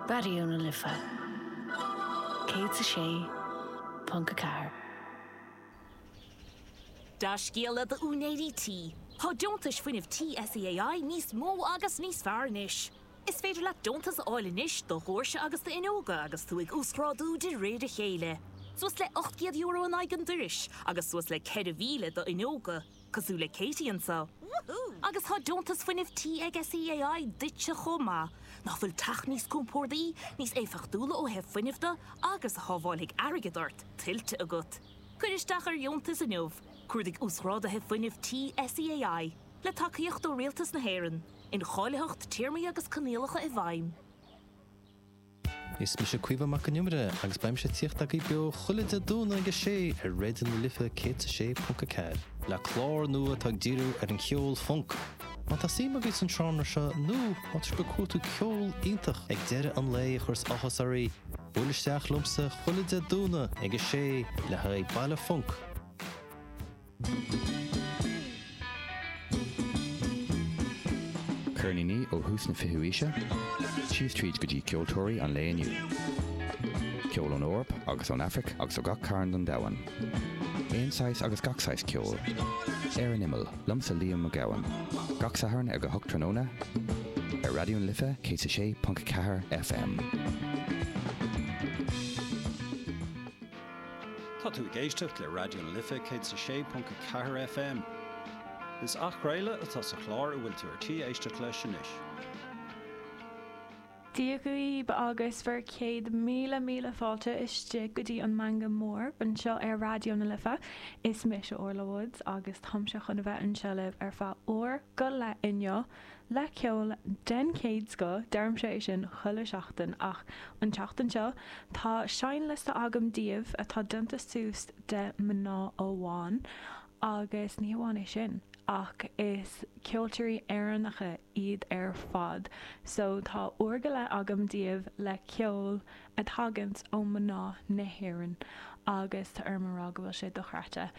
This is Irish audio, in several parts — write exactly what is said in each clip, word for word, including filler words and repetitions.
Raidió na Life céad a sé ponc a ceathair. Dea-scéala d'úinéirí tí. Tá deontais fuinnimh tí SEAI níos mó agus níos fearr anois. Is féidir leat deontas a fháil anois do dhoirse agus d'fhuinneoga agus tú ag uasghrádú de réir a chéile. Suas le ocht gcéad euro in aghaidh an dorais agus suas le ceithre mhíle d'fhuinneoga, cosúil le Katie anseo. Agus tá deontas fuinnimh tí ag SEAI duitse chomh maith, nach bhfuil teach níos compordaí, níos éifeachtúla ó thaobh fuinnimh de agus a shábhálfaidh airgead ort tuillte agat. Cuir isteach ar dheontas inniu, cuardaigh uasghráduithe fuinnimh tí SEAI, le tacaíocht ó Rialtas na hÉireann, incháilitheacht téarmaí agus coinníollacha i bhfeidhm. Is mise Caoimhe Mac an Iomaire agus beimse ag tíocht agaibh beo chuile Dé Domhnaigh ag a sé ar Raidió na Life céad a sé ponc a ceathair, le clár nua atá ag díriú ar an cheol func. Má tá suim agaibh san seánra seo nó má tá sibh ag cuartú ceol iontach ag deireadh an lae a chuirfeas áthas oraibh, buail isteach liomsa chuile Dé Domhnaigh ag a sé le haghaidh Baile Func. Ceirníní ó thús na fichiú haoise, síos tríd go dtí ceoltóirí an lae inniu. Ceol ón Eoraip agus ón Afraic agus ó gach cearn den domhan. Aon saghas agus gach saghas ceoil. Ar an Imeall, liomsa Liam Mac Gabhann. Gach Satharn ag a hocht tráthnóna, ar Raidió na Life céad a sé ponc a ceathair FM. Tá tú ag éisteacht le Raidió na Life céad a sé ponc a ceathair FM. Is athchraoladh atá sa chlár a bhfuil tú ar tí éisteacht leis anois. Dia dhaoibh agus bhur céad míle míle fáilte istigh go dtí an Meangadh Mór anseo ar Raidió na Life. Is mise Orla Woods agus táimse chun a bheith anseo libh ar feadh uair go leith inniu le ceol den chéad scoth, deirimse é sin chuile sheachtain ach an tseachtain seo tá seinnliosta agam daoibh atá déanta suas de mná amháin Agus ní hamháin é sin, ach is ceoltóirí Éireannacha iad ar fad. So tá uair go leith agam daoibh le ceol a thaganns ó mná na hÉireann agus tá orm a rá go bhfuil sé dochreidte.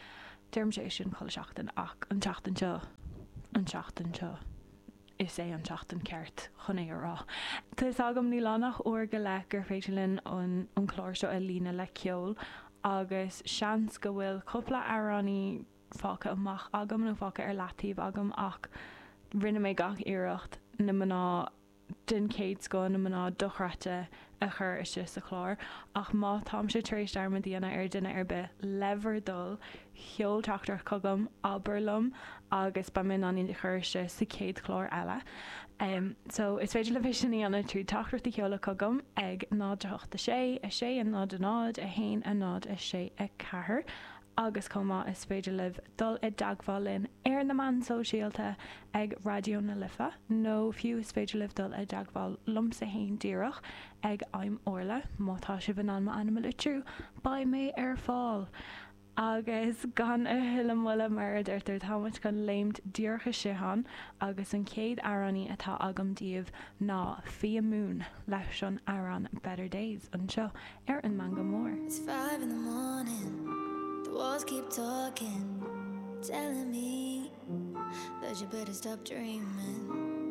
Deirimse é sin chuile seachtain ach an tseachtain seo, an tseachtain seo. is é an tseachtain ceart chun é a rá. Tá fhios agam, níl ann ach uair go leith gur féidir linn an clár seo a líonadh le ceol agus seans go bhfuil cúpla amhránaí fágtha amach agam nó fágtha ar leataobh agam ach rinne mé gach iarracht na mná den chéad scoth, na mná dochreidte a chur istigh sa chlár. Ach má táimse tar éis dearmad a dhéanamh ar dhuine ar bith, le bhur dtoil, sheol teachtaireacht chugam, abair liom agus beidh mé in ann iad a chur istigh sa chéad chlár eile. So, is féidir libh é sin a dhéanamh trí teachtaireacht a sheoladh chugam ag náid a hocht a sé, a sé a náid a náid, a haon a náid a sé a ceathair. Agus chomh maith is féidir libh dul i dteagmháil linn ar na meáin sóisialta ag Raidió na Life nó fiú is féidir libh dul i dteagmháil liomsa fhéin díreach ag I'm Orla má tá sibh in ann m'ainm a litriú beidh mé ar fáil! Agus gan a thuilleadh moille mar a deirtear tá muid chun léimt díreach istigh ann agus an chéad amhránaí atá agam daoibh ná Fia Moon leis an amhrán Better Days anseo ar an Meangadh Mór. It's five in the morning, the walls keep talking, telling me that you better stop dreaming.